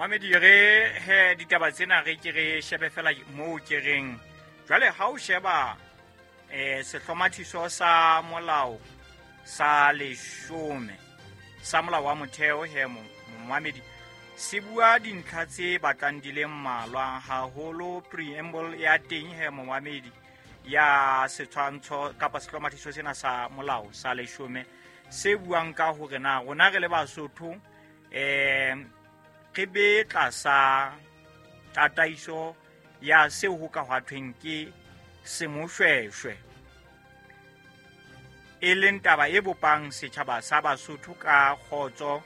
Mamedi re he ditaba tsena re ke re shebe fela moo ke reng jwale ha o sheba sehlomathiso sa molao sa leshome sa molao wa motheo he momamedi se bua dintlha tse batlang di le mmalwa haholo preamble ya teng he momamedi ya setshwantsho kapa sehlomathiso sena sa molao sa leshome se buang ka hore na rona re le Basotho re be tlasa tataiso ya seo ho ka hwa thweng ke semoshweshwe, e leng taba e bopang setjhaba sa Basotho ka kgotso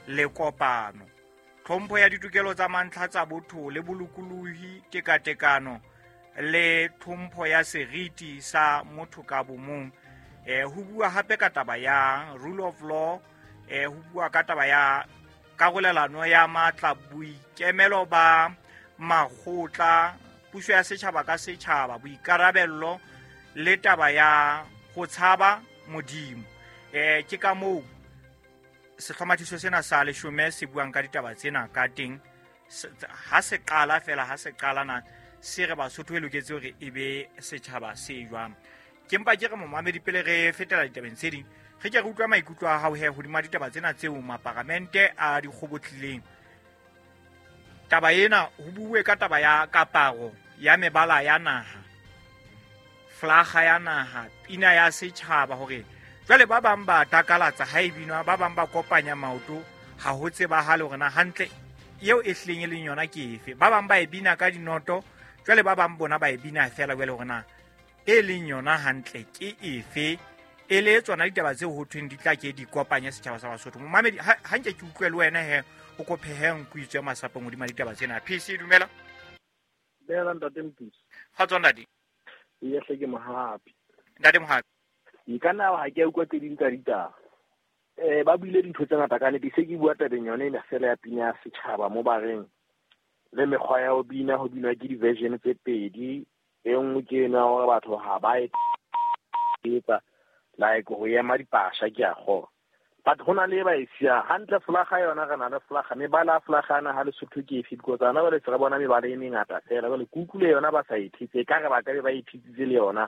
le kopano, tlhompho ya ditokelo tsa mantlha tsa botho le bolokolohi, tekatekano le tlhompho ya seriti sa motho ka bomong. Ho bua hape ka taba ya rule of law, ho bua ka taba ya karolelano ya matla, boikemelo ba makgotla, puso ya setjhaba ka setjhaba, boikarabello le taba ya ho tshaba Modimo. Ke ka moo sehlomathiso sena sa leshome se buang ka ditaba tsena ka teng. Ha se qala fela, ha se qala na se re Basotho e loketse hore e be setjhaba se jwang. Ke mpa ke re momamedi pele re fetela ditabeng tse ding, re ke re utlwa maikutlo a hao he hodima ditaba tsena tseo maparamente a di kgobotlileng. Taba ena ho buwe ka taba ya kaparo ya mebala ya naha, flaga ya naha, pina ya setjhaba, hore jwale ba bang ba takalatsa ha e binwa, ba bang ba kopanya maoto, ha ho tsebahale hore na hantle eo e hlileng e leng yona ke efe. Ba bang ba e bina ka dinoto, jwale ba bang bona ba e bina fela jwale hore na e leng yona hantle ke efe. E le tsona ditaba tseo ho thweng di tla ke di kopanye setjhaba sa Basotho. Momamedi, ha nke ke utlwe le wena he o ko pheheng kuitswe masapong hodima ditaba tsena. PC, dumela. Dumela ntate Mputsi. Kgotso ntate. Ee, hle ke Mohapi. Ntate Mohapi. E ka nna ha ke a utlwa tse ding tsa ditaba. Ba buile dintho tse ngata ka nnete. Se ke bua tabeng yone ena fela ya pina ya setjhaba mo ba reng le mekgwa ya ho bina, ho binwa ke di-version tse pedi. E nngwe ke ena hore batho ha ba e etsa like ho ema dipasha ke a kgona. But ho na le e ba e siyang hantle. Flaga yona re na le flaga, mebala ya flaga yana ha Lesotho ke efe? Because ana jwale se re bona mebala e mengata fela. Jwale ke utlwile yona ba sa e thetse, ekare ba ka be ba e thetsitse le yona.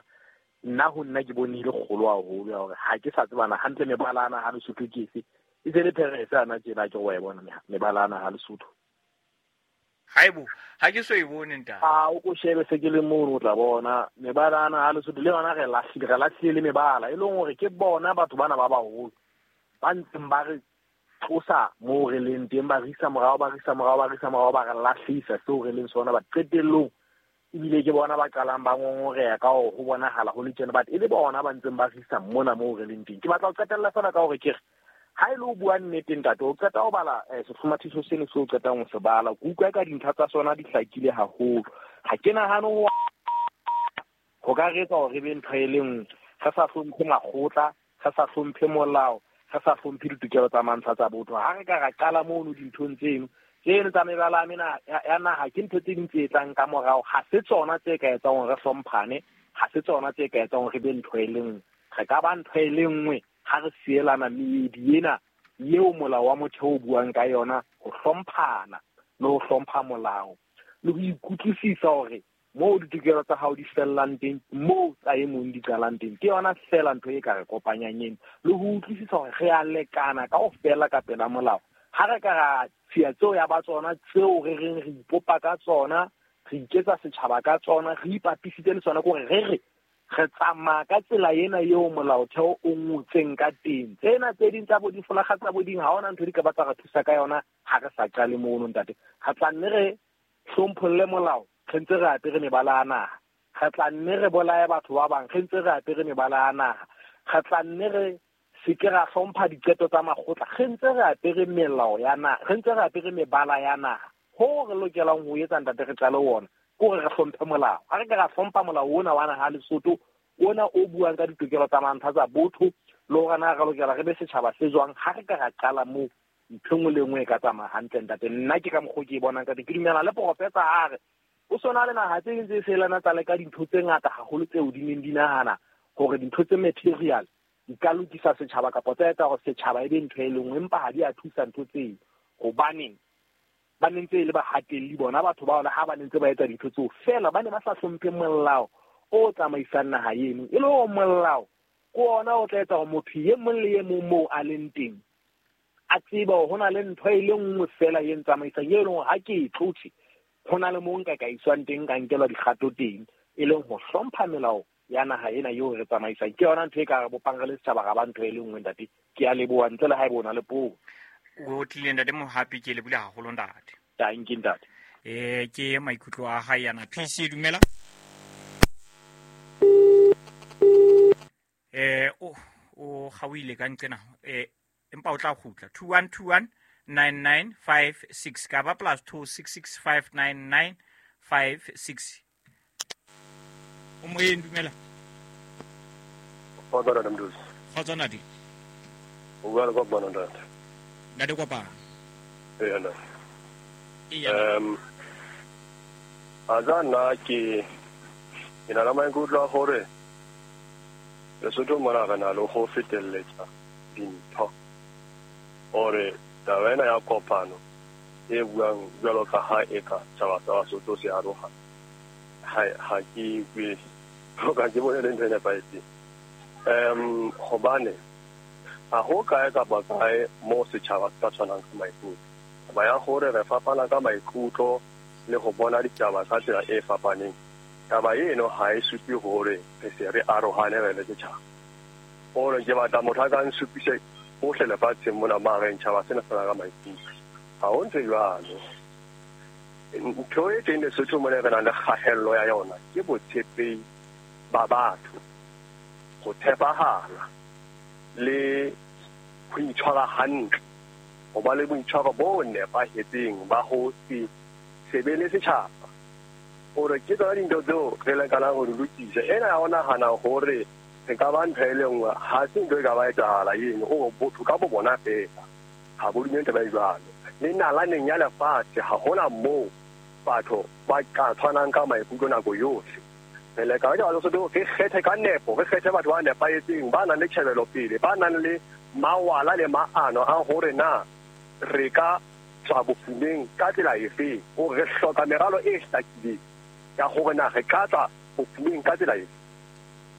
Nna ho nna ke bone e le kgolo haholo ya hore ha ke sa tsebana hantle mebala ana ha Lesotho ke efe. E se le pherese ana tjena ke wa e bona mebala ana ha Lesotho. Haebo, ha ke so e bone ntate. A o ko shebe se ke le mono o tla bona mebala ana ha Lesotho le yona re lahlile, re lahlile le mebala e leng hore ke bona batho bana ba baholo ba ntseng ba re tlosa moo re leng teng, ba re isa morao, ba re isa morao, ba re isa morao, ba re lahlisa seo re leng sona. Ba qetellong ebile ke bona ba qalang ba ngongoreha ka hore ho bonahala ho le tjena, but e le bona ba ntseng ba re isa mona moo re leng teng. Ke batla ho qetella fela ka hore ke re ha e le ho bua nnete ntate, o qeta ho bala sehlomathiso seno seo o qetang ho se bala, ke utlwa ka dintlha tsa sona di hlakile haholo. Ha ke nahane ho ka re etsa hore re be ntho e le nngwe, re sa hlomphe makgotla, re sa hlomphe molao, re sa hlomphe ditokelo tsa mantlha tsa botho. Ha re ka ra qala mono dinthong tseno, tseno tsa mebala ya naha ke ntho tse ding tse tlang ka morao. Ha se tsona tse ka etsang hore re hlomphane, ha se tsona tse ka etsang hore re be ntho e le nngwe. Re ka ba ntho e le nngwe ha re sielana meedi ena eo molao wa motheo o buang ka yona, ho hlomphana le ho hlompha molao le ho ikutlwisisa hore moo ditokelo tsa hao di fellang teng, moo tsa e mong di qalang teng. Ke yona fela ntho e ka re kopanyang eno, le ho utlwisisa hore re a lekana kaofela ka pela molao. Ha re ka ra tshiya tseo ya ba tsona tseo re reng re ipopa ka tsona, re iketsa setjhaba ka tsona, re ipapisitse le tsona, ke hore re re re tsamaya ka tsela ena eo molaotheo o ngotseng ka teng. Tsena tse ding tsa bo difolaga tsa bo ding, ha hona ntho di ka ba tsa re thusa ka yona ha re sa qale mono ntate. Re tla nne re hlompholle molao, re ntse re apere mebala ya naha. Re tla nne re bolaye batho ba bang, re ntse re apere mebala ya naha. Re tla nne re se ke ra hlompha diqeto tsa makgotla, re ntse re apere melao ya naha, re ntse re apere mebala ya naha. Ho re lokelang ho etsa ntate re qale ona, ke hore re hlomphe molao. Ha re ka ra hlompha molao ona wa naha ya Lesotho, ona o buang ka ditokelo tsa mantlha tsa botho, le hore na re lokela re be setjhaba se jwang, ha re ka ra qala moo, ntho e nngwe le nngwe e ka tsamaya hantle ntate. Nna ke ka mokgwa ke e bonang ka teng. Ke dumela le professor a re o sona le naha tse ding tse selana tsa leka dintho tse ngata haholo tseo di neng di nahana hore dintho tse material di ka lokisa setjhaba kapa tsa etsa hore setjhaba e be ntho e le nngwe, empa ha di a thusa ntho tseo. Hobaneng? Ba ne ntse e le bahatelli bona batho bao, le ha ba ne ntse ba etsa dintho tseo fela, ba ne ba sa hlomphe molao o tsamaisang naha eno. E le hore molao ke ona o tla etsa hore motho e mong le e mong moo a leng teng a tsebe hore ho na le ntho e le nngwe fela e ntsamaisang, e leng hore ha ke e tlotse, ho na le moo nka ka iswang teng, ka nkelwa dikgato teng, e leng ho hlompha melao ya naha ena eo re tsamaisang. Ke yona ntho e ka re bopang re le setjhaba, ra ba ntho e le nngwe, ntate. Ke a leboha, ntle le ha ebe o na le puo. O tlile, ntate Mohapi, ke lebohile haholo, ntate. Dankie, ntate. Ke maikutlo a hae yana. PC, dumela. O kgaohile ka nqena. Empa o tla kgutla. 2121 9956 ka ba plus 266 59956. O moyeng, dumela. Kgotso, ntate Mdusi. Kgotso, ntate. O bua le Kopano, ntate. Ntate Kopano. Ee, ntate. Eya. A tsa nna ke na le maikutlo a hore Lesotho mona re na le ho fetelletsa dintho. Hore taba ena ya kopano e buang jwalo ka ha eka tjhaba sa Basotho se aroha, ha ke ikwe ka ke bone le ntho e nepahetseng. Hobane ha ho kae kapa kae moo setjhaba se ka tshwanang ka maikutlo. Taba ya hore re fapana ka maikutlo le ho bona ditaba ka tsela e fapaneng, taba eno ha e supe hore re se re arohane re le setjhaba. Hore ke batla motho a ka nsupise hohle lefatsheng mona ma reng tjhaba sena se na ka maikutlo. Ha ho ntho e jwalo. Ntho e teng Lesotho mona re nang le kgahello ya yona ke botshepehi ba batho, ho tshepahala le ho itshwara hantle, ho ba le boitshwaro bo nepahetseng ba ho se sebe le setjhaba. Hore ke tsona dintho tseo re lekanang ho di lokisa. Ena ya ho nahana hore re ka ba ntho e le nngwe, ha se ntho e ka ba etsahala eno. Hore botho ka bo bona fela ha bo dumele taba e jwalo. Le nalaneng ya lefatshe ha hona moo batho ba ka tshwanang ka maikutlo nako yohle. Re leka ka Lesotho re kgethe ka nepo, re kgethe batho ba nepahetseng, ba nang le tjhebelopele, ba nang le mawala le maano a hore na re ka tswa bofumeng ka tsela efe. Hore re hloka meralo e hlakileng ya hore na re ka tswa bofumeng ka tsela efe.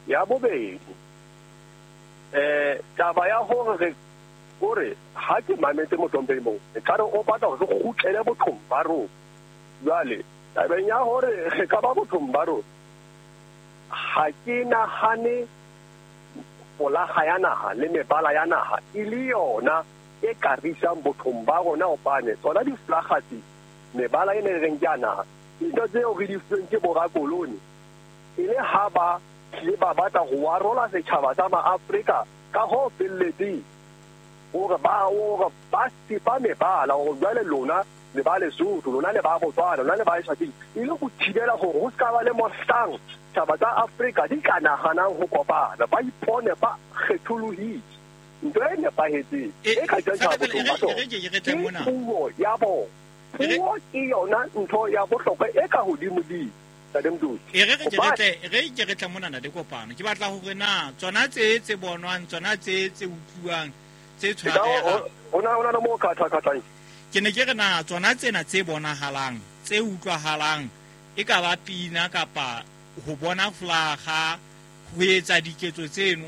Ya bobedi, taba ya hore re hore ha ke mametse mohlomphehi moo, ekare o batla hore re kgutlele bothong ba rona. Jwale tabeng ya hore re ka ba bothong ba rona, ha ke nahane folaga ya naha le mebala ya naha e le yona e ka re isang bothong ba rona, hobane tsona difolaga tse, mebala e ne re reng ke ya naha, dintho tseo re di fuweng ke borakoloni e le ha ba tlile ba batla ho arola setjhaba sa Maafrika ka ho felletseng, hore ba sepa mebala hore jwale lona le ba Lesotho, lona le ba Botswana, lona le ba Eswatini, e le ho thibela hore ho ska ba le mohlang tjhaba tsa Afrika di ka nahanang ho kopana, ba ipone ba kgetholohile. Ntho e nepahetseng e ka jwang tjhaba bothong ba tsona ke puo ya bona. Puo ke yona ntho ya bohlokwa e ka hodimo-dimo, Ntate Mdusi. E re re ke re tle mona, ntate Kopano. Ke batla hore na tsona tse bonwang, tsona tse utluwang, tse tshwarehang. Ho na le moo khatha-khathang. Ke ne ke re na tsona tsena tse bonahalang, tse utlwahalang, e ka ba pina kapa ho bona folaga, ho etsa diketso tseno,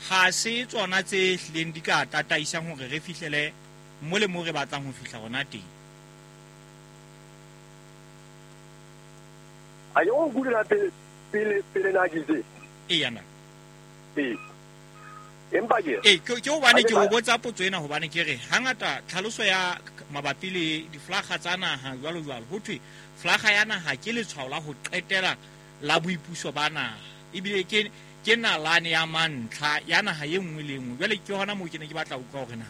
ha se tsona tse hlileng di ka tataisang hore re fihlele mo le mo re batlang ho fihla hona teng. A ke o nkutlwe pele pele pele na ke itse? Eya na. Ee. Empa ke Ee, ke hobane ke o botsa potso ena hobane ke re hangata tlhaloso ya mabapi le diflaga tsa naha jwalo jwalo, ho thwe flaga ya naha ke letshwao la ho qetela la boipuso ba naha, ebile ke nalane ya mantlha ya naha e nngwe le e nngwe. Jwale ke hona moo ke ne ke batla ho utlwa hore na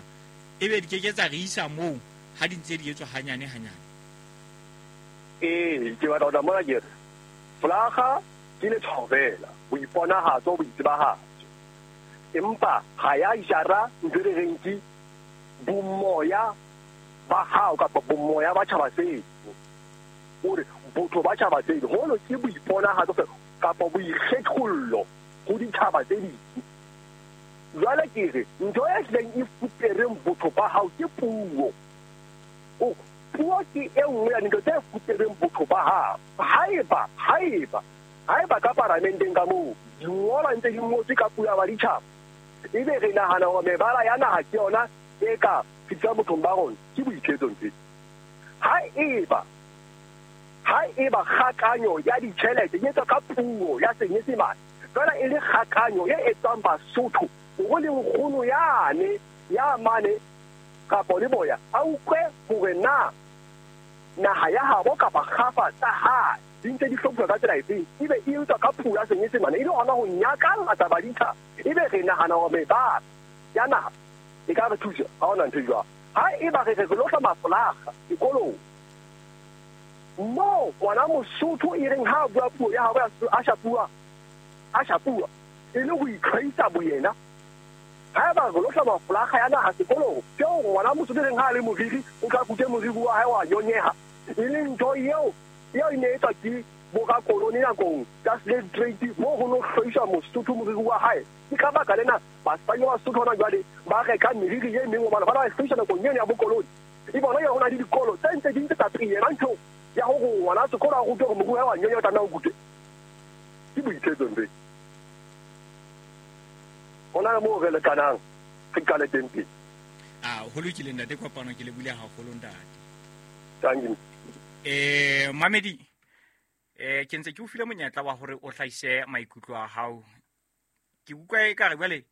ebe di ke ke tsa re isa moo ha di ntse di etswa hanyane hanyane. Ee, ke batla ho tla mona ke re folaga ke letshwao fela, boiponahatso, boitsebahatso, empa ha ya jara ntho e re reng ke bomoya ba hao kapa bomoya ba tjhaba seno, hore botho ba tjhaba seno hono ke boiponahatso fela kapa boikgethollo ho ditjhaba tse ding. Jwale ke re ntho e hlileng e fupereng botho ba hao ke puo. O Puo ke e nngwe ya dintho tse fupereng botho ba hao. Haeba ka paramenteng ka moo dingolwa ntse di ngotswe ka puo ya baditjhaba, ebe re nahana hore mebala ya naha ke yona e ka fihlang bothong ba rona, ke boithetso ntho. Haeba kgakanyo ya ditjhelete e etswa ka puo ya Senyesemane, fela e le kgakanyo e etswang Basotho hore le nkgono yane ya mane kapa le boya a utlwe hore na naha ya habo kapa kgafa tsa hae di ntse di hlophiswa ka tsela efeng, ebe e etswa ka puo ya Senyesemane, e le hona ho nyakalla baditjhaba, ebe re nahana hore mebala ya naha e ka re thusa, ha hona ntho e jwalo. Haeba re re lo hloma folaga dikolong moo ngwana Mosotho e reng ha a bua puo ya habo a shapuwa e le ho itlhwaisa boyena. Haeba re lo hloma folaga ya naha sekolong, ke hore ngwana Mosotho e reng ha a le moriri o tla kute moriri wa hae wa nyonyeha, e le ntho eo e ne etswa ke borakolone nakong tsa slave trade, moo ho no hlwaiswa Mosotho moriri wa hae. Ke ka baka lena basadi ba Basotho hona jwale ba reka meriri e meng hobane ba na hlwaiswa nakong eno ya bokolone. E bona ya hona le dikolo tse ntse di ntse tsa pele ntho ya hore ngwana sekolo a rutwe hore moriri wa nyonya o tlameha o kutwe. Ke boithetso ntho e. Hona le moo re lekanang, re qale teng pele. Ho lokile ntate Kopano, ke le bule haholo ntate. Thank you. Mamedi, ke ntse ke o file monyetla wa hore o hlahise maikutlo a hao. Ke utlwa ekare jwale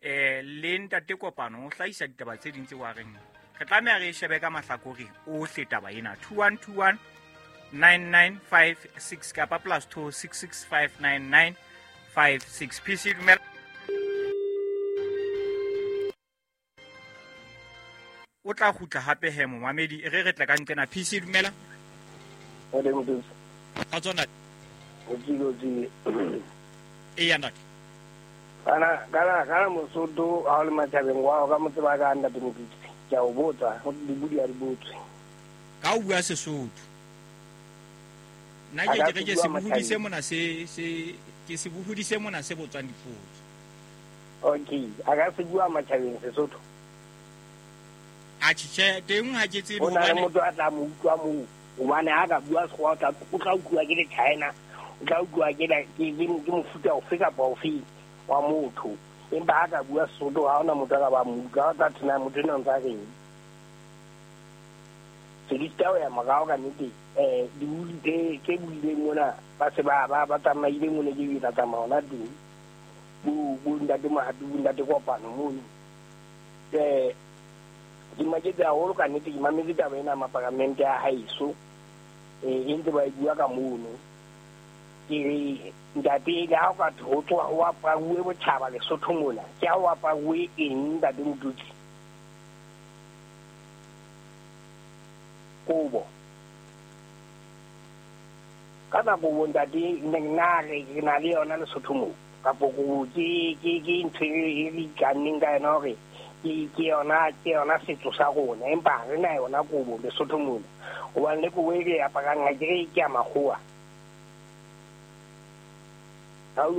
le ntate Kopano o hlahisa ditaba tse ding tse wa reng re tlameha re shebe ka mahlakore ohle taba ena. 2121 9956 kapa +2 6659956. PC dumela. O tla kgutla hape he momamedi, e re re tla ka nqena. PC dumela. Ka tsona. Eya ntate. Kana Mosotho ha o le matjhabeng wa hao ka mo tseba ka ntate Motutsi. Ke a o botsa, ho dibudi a di botswe. Ka o bua Sesotho. Nna ke re ke sebohodi se mona se ke sebohodi se mona se botswang dipotso. Okay, a ka se bua matjhabeng Sesotho. A tjhe, teng ha ke tsebe hobane o na le motho a tla mo utlwa moo. Hobane ha ka bua Sekgowa o tla utlwa ke le China, o tla utlwa ke mofuta ofe kapa ofe wa motho. Empa ha ka bua Sesotho ha hona motho a ka ba mo utlwa, o tla thina motho enwa ntse a reng. Se di tao ya morao ka nnete, dibudi tse buileng mona ba se ba tsamaile mona ke tla tsamaya hona teng. Bo ntate Mohapi, bo ntate Kopano mono. Ke maketse haholo ka nnete, ke mametse taba ena maparamente a haeso, e ntse ba e bua ka mono. Ke re ntate, le ha o ka ho tsoha ho aparuwe botjhaba Lesotho mona, ke ha ho aparuwe eng ntate Motutsi? Kobo. Ka nako kobo ntate, nna re na le yona Lesotho moo, kapo kobo ke ntho e re ikanneng ka yona hore ke yona setso sa rona, empa ha re na yona kobo Lesotho mona. Hobane le kobo e re aparang ha ke re ke ya makgowa. Ha o